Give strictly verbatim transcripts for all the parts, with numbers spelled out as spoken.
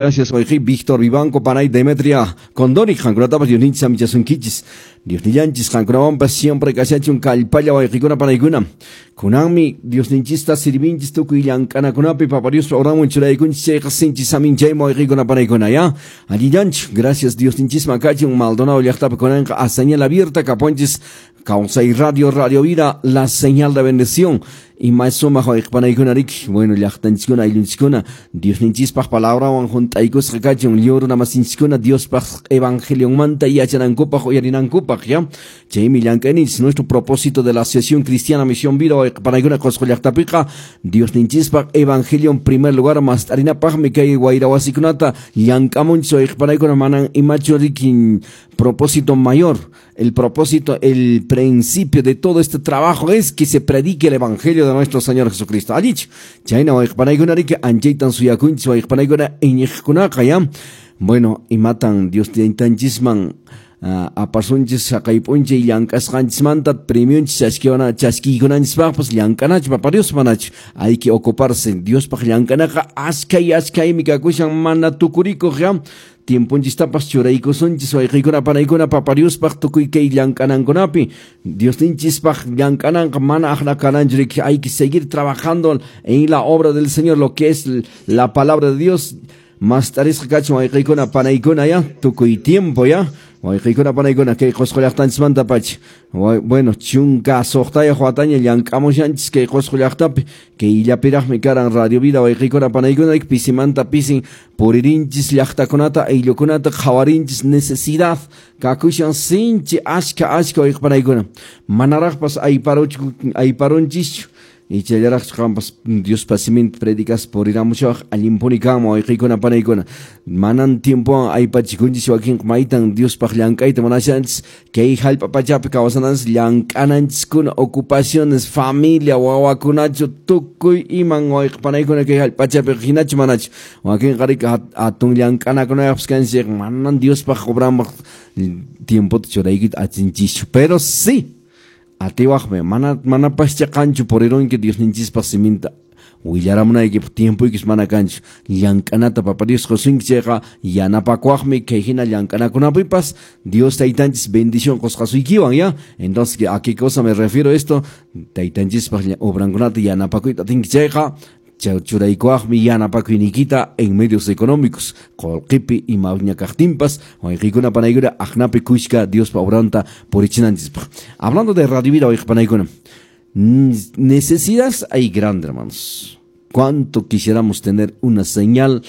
Gracias, Víctor Vivanco, Panay, Demetria, Condori, qankunatapas Diosninchis amichasunkichis. Diosnillanchis qankunawanpas siempre kashachun kallpalla wayqikuna panaykuna. Kunanmi Diosninchista sirvinchis tukuy llank'anakunapi Papa Diospa oranwan churaykunchis chayqa sinchis saminchaymi wayqikuna panaykuna, ya. Allillanchu, gracias Diosninchisman kachun Maldonado llaqtapi kunanqa a señal abierta kapunchis Kawsay Radio, Radio Vida, la señal de bendición. Y más sumaq wayqipanaykuna riki, bueno, llaqtanchiskuna, ayllunchiskuna, Diosninchispaq palabrawan junt'aykusqa kachun, lliw runa masinchiskuna Diospaq evangelionmanta yachanankupaq uyarinankupaq, ya. Chaymi llank'ayninchis nuestro propósito de la Asociación Cristiana Misión Vida wayqipanaykuna Qosqo llaqtapiqa, Diosninchispaq evangelio en primer lugar mast'arinapaqmi kay wayrawasikunata llank'amunchis wayqipanaykuna manan imachu riki propósito mayor. El propósito, el principio de todo este trabajo es que se predique el evangelio de nuestro Señor Jesucristo. Allichu, chayna wayqipanaykuna riki anchaytan suyakunchis wayqipanaykuna iñiqkunaqa, ya. Bueno, imatan Dios taytanchisman uh, apasunchis haqay p'unchay llank'asqanchismanta premionchis chaskiwana chaskiykunanchispaqpas llank'anachu Papa Dios manachu. Hay que ocuparse. Diospaq llank'anaqa askay askaymi kakushan mana tukurikuq, ya. Tiemponchistapas churaykusunchis wayqiykuna panaykuna Papa Diospaq tukuy kay llank'anankunapi. Diosninchispaq llank'ananqa mana aqna kananchu riki. Hay que seguir trabajando en la obra del Señor, lo que es la palabra de Dios. Mast'arisqa kachun wayqiykuna panaykuna, ya, tukuy tiempo, ya. Wayqiykuna panaykuna kay Qosqo llaqtanchismanta pacha. Bueno, chunka suqtayuq wataña llank'amushanchis kay Qosqo llaqtapi. Kay illapiraqmi karan Radio Vida wayqiykuna panaykuna pisimanta pisin puririnchis llaqtakunata ayllukunata qhawarinchis necesidad kakushan sinchi ashka ashka wayqipanaykuna. Manaraqpas ayparuchu ayparunchischu. Ichallaraqchu qampas Diospa siminta predicas puriramushawaq allinpuni kanman wayqiykuna panaykuna. Manan tiempowan aypachikunchis wakinqa maytan Diospaq llank'ayta munashanchis kay hallp'a pachapi kawsananchis llank'ananchiskuna ocupaciones, familia, wawakunachu tukuy iman wayqipanaykuna kay hallp'a pachapi hinachu manachu. Wakinqa riki hatun llank'anakunayaqpas kanchis manan Diospaq obranpaq tiempota churaykita atinchischu. Pero sí, atiwaqmi mana manapascha qanchu purirunki Diosninchispaq siminta willaramunaykipaq tiempoykis mana kanchu llank'anata Papa Dios qusunki chayqa yanapakuwaqmi kay hina llank'anakunapipas Dios taytanchis bendición qusqasuykiwan, ya. Entonces, ¿a qué cosa me refiero esto? Taytanchispaq obrankunata yanapakuyta atinki chayqa churaykuwaqmi yanapakuyniykita en medios económicos qullqipi imaña kaqtinpas wayqiykuna panaykuna aqnapi kushka Diospa obranta purichinanchispaq. Hablando de Radio Vida wayqipanaykuna, necesidades hay grande, hermanos. Cuánto quisiéramos tener una señal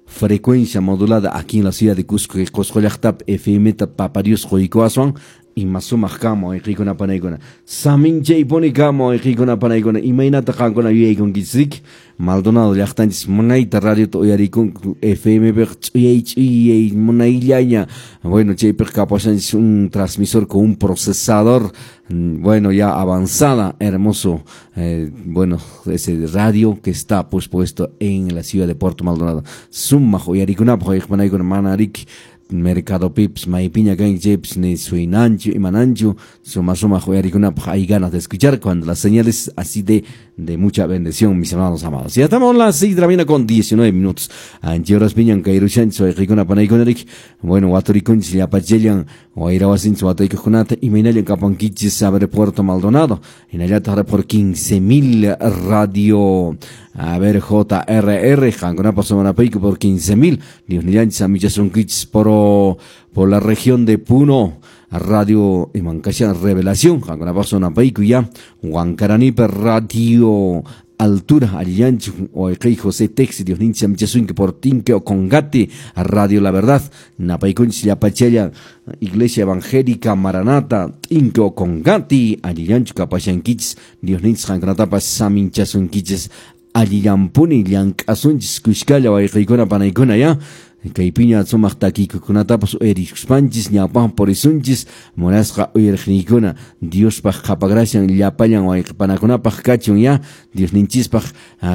frecuencia modulada aquí en la ciudad de Cusco, que Qosqo llaqtapi F M ta Papa Dios quykuwaswan ima sumaq kanman wayqiykuna panaykuna. Saminchaypuni kanman wayqiykuna panaykuna. Imaynata qankuna yuyaykunkichis? Maldonado llaqtanchis munayta radiota uyarikunku F M piqa ch'uyay ch'uyay munayllaña. Bueno, chaypiqa kapashanchis un transmisor con un procesador, bueno, ya avanzada, hermoso, eh, bueno, ese radio que está pues puesto en la ciudad de Puerto Maldonado. Sumaq uyarikunapaq wayqipanaykuna mana riki Mercado Pips, maypiña kanki chaypis ni suinanchu, imananchu, suma sumaq uyarikunapaq hay ganas de escuchar cuando la señal es así de, de mucha bendición, mis hermanos amados. Ya estamos a las seis de la mañana con diecinueve minutos. Anchi horas piñan kayrushanchis wayqiykuna panaykuna riki. Bueno, waturikunchis llapachellan wayrawasinchis wataykuqkunata imaynallan kapankichis saber Puerto Maldonado. Hinallataq por quince mil radio. A ver, J R R, qankunapas sumanapayku por quince mil. Diosnillanchis amichasunkichis por, por la región de Puno. Radio Imancashan Revelación, qankunapas sumanapayku ya. Huancaranipe Radio Altura, Allanchu, Oeqey José Texi, Diosninchis amichasunki por Tinque o Congati, Radio La Verdad, Napaykunchis Llapachella, Iglesia Evangélica Maranata, Tinque o Congati, Allanchu kapashankichis, Diosninchis qankunatapas saminchasunkichis. Allillampuni llank'asunchis kushkalla wayqiykuna panaykuna, ya. Kaypiña sumaq takiykukunatapas uyarikuspanchis ñawpaqman purisunchis munasqa uyariqniykuna Diospaq qhapagracian llapallan wayqipanakunapaq kachun, ya. Diosninchispaq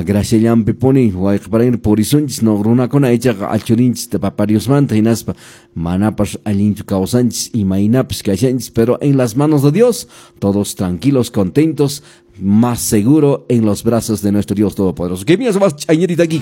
graciallanpi puni wayqipanaykuna purisunchis no runakuna ichaqa alchurinchis Papa Diosmanta hinaspa manapas allinchu kawsanchis imaynapas kashanchis, pero en las manos de Dios todos tranquilos, contentos, más seguro en los brazos de nuestro Dios Todopoderoso. Que mira, más chañerita aquí.